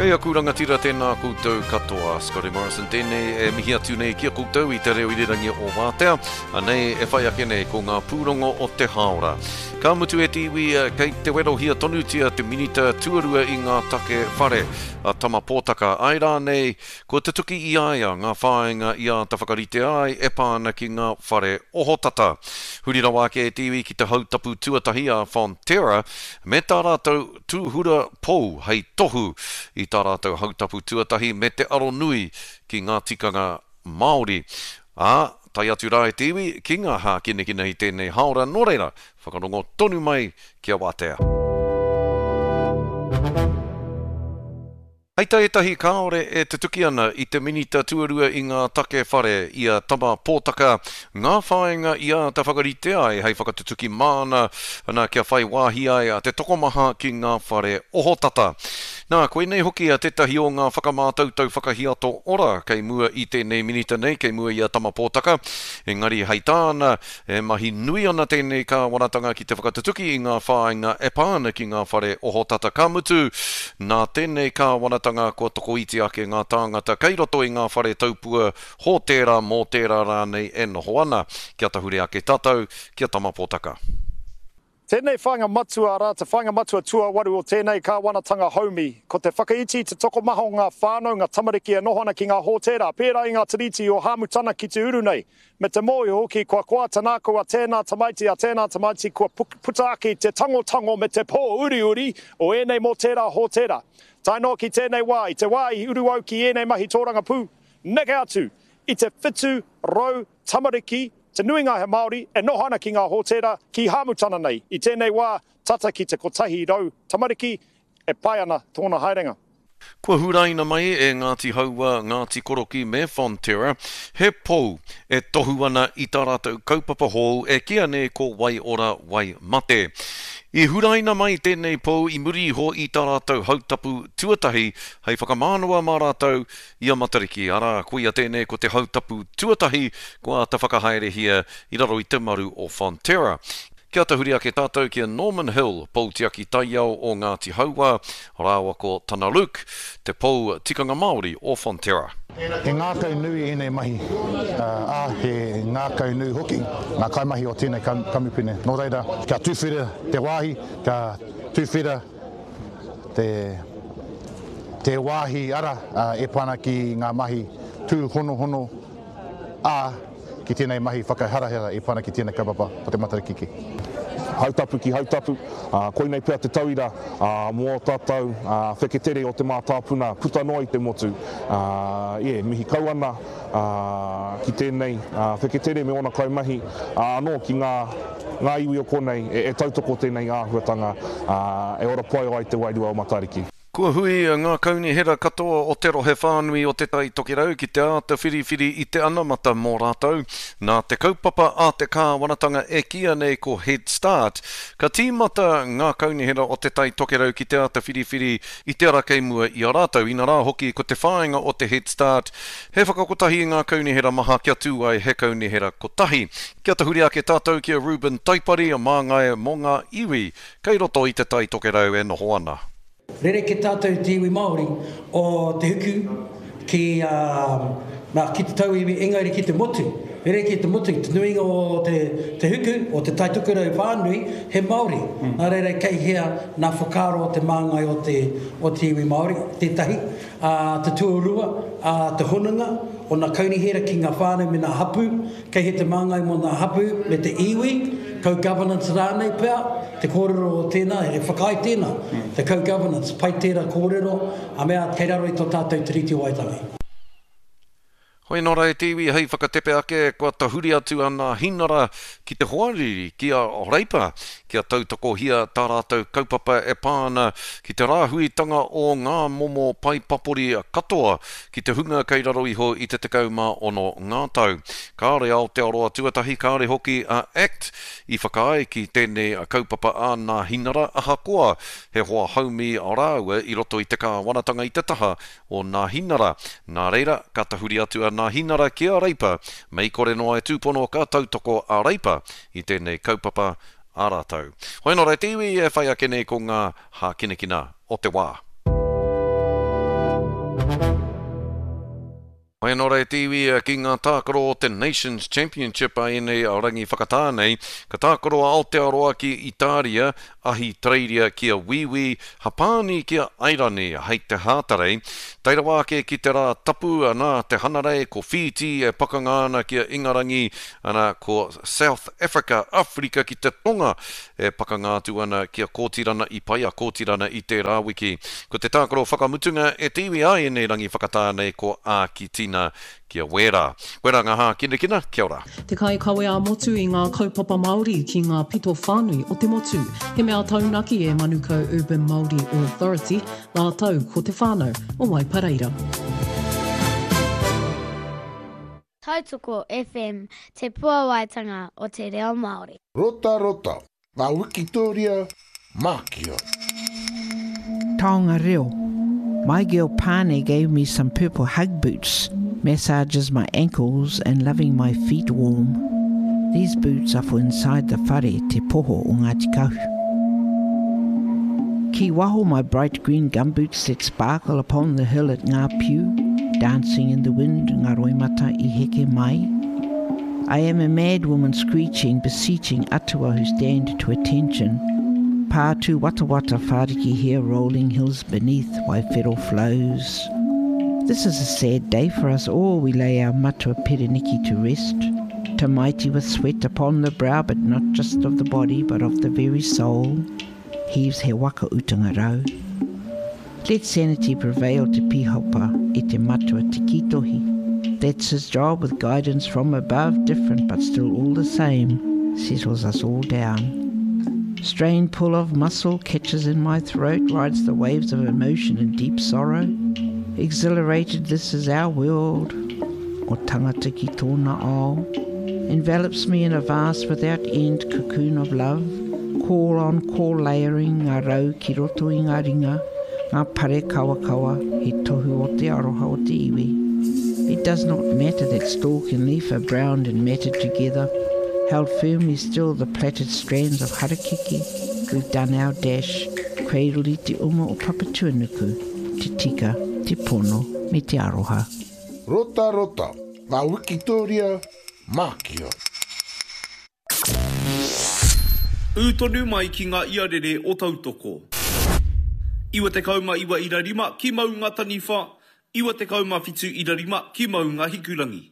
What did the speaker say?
Kei aku rangatira tēnā koutou katoa. Scotty Morrison tēnei e mihi atu nei ki a koutou i te reo irirangi o Wātea. Anei e whai ake nei ko ngā pūrongo o te hāora. Ka mutu e te iwi kei te werohia tonutia te Minita tuarua i ngā take whare, a Tama Pōtaka. Āe rānei, kua tutuki i a ia ngā whāinga i āta whakaritea ai e pā ana ki ngā whare ohotata. Huri rawa ake e te iwi ki te hautapu tuatahi a Fonterra me tā rātou tūhura pou hei tohu i tā rātou hautapu tuatahi me te aro nui ki ngā tikanga Māori. Ā, tae atu rā e te iwi ki ngā hākinakina i tēnei hāora, nō reira, whakarongo tonu mai kia wātea. Hei tā ētahi kāore e tutuki ana i te Minita Tuarua i ngā take whare, i a Tama Pōtaka, ngā whāinga i āta whakaritea ai hei whakatutuki māna, ana kia whai wāhi ai te tokomaha ki ngā whare ohotata. Nā, koinei hoki tētahi o ngā whakamātautau whakahiato ora kei mua i tēnei Minita nei, kei mua i a Tama Pōtaka. Engari hei tāna, E mahi nui ana tēnei kāwanatanga ki te whakatutuki i ngā whāinga e pā ana ki ngā whare ohotata ka mutu, nā tēnei kāwanatanga kua tokoiti ake ngā tāngata kei roto i ngā whare taupua hōtēra, mōtēra rānei e noho ana. Kia tahuri ake tātou ki a Tama Potaka. Tēnei whāinga matua, arā, te whāinga matua tuawaru o tēnei kāwanatanga haumi, ko te whakaiti i te tokomaha o ngā whānau, ngā tamariki e noho ana ki ngā hōtēra, pērā i ngā tiriti o Hāmutana ki te uru nei, me te mōhio hoki kua koa te nākau a tēnā tamaiti, a tēnā tamaiti kua puta ake i te tangotango me te pōuriuri o ēnei mōtēra hōtēra. Tae noa ki tēnei wā, i te wā i uru au ki ēnei mahi tōrangapū, neke atu i te 700 tamariki, Te nuinga he Māori e noho ana ki ngā hōtēra ki Hāmutana nei. I tēnei wā, tata ki te 100 tamariki e pai ana tōna haerenga. Kua huraina mai e Ngāti Haua, Ngāti Koroki me Fonterra he pou e tohu ana i tā rātou kaupapa hou e kīia nei ko Wai Ora Wai Mate. I huraina mai tēnei pou i muri iho i tā rātou hautapu tuatahi hei whakamānawa mā rātou I a Matariki, arā, koia tēnei ko te hautapu tuatahi kua āta whakahaerehia i raro i te maru o Fonterra. Kia tahuri ake tātou ki a Norman Hill, pou tiaki taiao o Ngāti Hauā, rāua ko Tana Luke, te pou tikanga Māori o Fonterra. He ngākau nui ēnei mahi, ā, he ngākau nui hoki ngā kaimahi o tēnei kamupene. Nō reira, kia tuwhera te wāhi, kia tuwhera te te wāhi ara e pā ana ki ngā mahi tūhonohono, ā, ki tēnei mahi whakaharahara e pā ana ki tēnei kaupapa o te Matariki ki. Hautapu ki Hautapu, ā, koinei pea te tauira, ā, mō ō tātou, ā, wheketere o te mātāpuna puta noa i te motu. Ā, yeah, mihi kau ana, ā, ki tēnei, ā, wheketere me ōna kaimahi, ā, anō ki ngā, ngā iwi o konei e, e tautoko tēnei āhuatanga, ā, e ora pai ai te wairua o Matariki. Kua hui ngā kaunihera katoa o te rohe whānui o Te Tai Tokerau ki te āta whiriwhiri i te anamata mō rātou. Nā te kaupapa a te kāwanatanga e kīia nei ko Head Start, ka tīmata ngā kaunihera o Te Tai Tokerau ki te āta whiriwhiri i te ara kei mua i a rātou. Inarā hoki ko te whāinga o te Head Start he whakakotahi i ngā kaunihera maha kia tū ai he kaunihera kotahi. Kia tahuri ake tātou ki a Reuben Taipari, māngai mō ngā iwi kei roto i Te Tai Tokerau e noho ana. Rerekē tātou te iwi Māori o te huku ki, nā, ki te tauiwi engari ki te motu. Rerekē te motu, te nuinga o te, te huku, o Te Tai Tokerau whānui, he Māori. Nā reira kei hea nā whakaaro o te māngai o te, o te iwi Māori, tētahi. Ā, te tuarua, ā, te hononga o nā kaunihera ki ngā whānau me nā hapū, Kei he te māngai mō ngā hapū me te iwi, co-governance rānei pea, te kōrero o tēnā, he whakaae tēnā, te co-governance, pai tērā kōrero, a mea kei raro i tō tātou Tiriti o Waitangi. Hoi nō rā e te iwi hei whakatepe ake, kua tahuri atu a Nāhinara ki te hoariri, ki a Reipa, kia tautokohia tā rātou kaupapa e pā ana ki te rāhuitanga o ngā momo pae papori katoa ki te hunga kei raro iho i te 16 ngā tau. Kāore Aotearoa Tuatahi, kāore hoki a act i whakaae ki tēnei kaupapa a Nāhinara ahakoa he hoa haumi rāua i roto i te kāwanatanga i te taha o Nāhinara. Nā reira, ka tahuri atu a Nāhinara ki a Reipa, mei kore noa e tūpono ka tautoko a Reipa i tēnei kaupapa a rātou. Hoi nō reira te iwi e whai ake nei ko ngā hākinakina o te wā. Mai anō rā e te iwi ki ngā tākaro o te Nations Championship a ēnei rangi whakatā nei, ka tākaro a Aotearoa ki Itāria, Ahitereiria ki a Wīwī, Hapāni ki a Airani hei te Hātarei. Tae rawa ake ki te rā tapu, anā, te Hanarei, ko Whītī e pakanga ana ki a Ingarangi, ana, ko South Africa, Awherika ki te Tonga, e pakanga atu ana ki a Kōtirana i pai a Kōtirana i tērā wiki. Ko te tākaro whakamutunga e te iwi a ēnei rangi whakatā nei ko Ākitina ki a Wēra. Koirā ngā hākinakina, kia ora. Te kaikawe ā-motu i ngā kaupapa Māori ki ngā pito whānui o te motu. He mea taunaki e Manukau Urban Māori Authority rātou ko te whānau o Waipareira. Tautoko FM, te puawaitanga o te reo Māori. Rotarota, ngā wikitōria mākia. Taonga reo. My girl Pane gave me some purple hug boots, massages my ankles and loving my feet warm. These boots are for inside the whare Te Poho o Ngāti Kahu. Ki waho my bright green gumboots that sparkle upon the hill at Ngā Piu, dancing in the wind ngā roimata i heke mai. I am a mad woman screeching, beseeching atua who stand to attention. Pātū watawata whāriki here rolling hills beneath Waiwhero flows. This is a sad day for us all, we lay our matua Pereniki to rest. Tamaiti with sweat upon the brow, but not just of the body, but of the very soul. Heaves he waka utanga rau. Let sanity prevail te pihopa e te matua te kitohi. That's his job with guidance from above, different but still all the same, settles us all down. Strained pull of muscle catches in my throat, rides the waves of emotion and deep sorrow. Exhilarated, this is our world. O tangata ki tōna ao. Envelops me in a vast without end cocoon of love. Call on call layering ngā rau ki roto i ngā ringa, ngā pare kawakawa, he tohu o te aroha o te iwi. It does not matter that stalk and leaf are browned and matted together, held firmly still the plaited strands of harakeke, we've done our dash, cradled i te uma o Papatuanuku, te tika, te pono, me te aroha. Rotarota, ngā wikitōria mākia. Ū tonu mai ki ngā iarere o Tautoko. 99 ira rima ki Maungataniwha, 97 ira rima ki Maungahikurangi.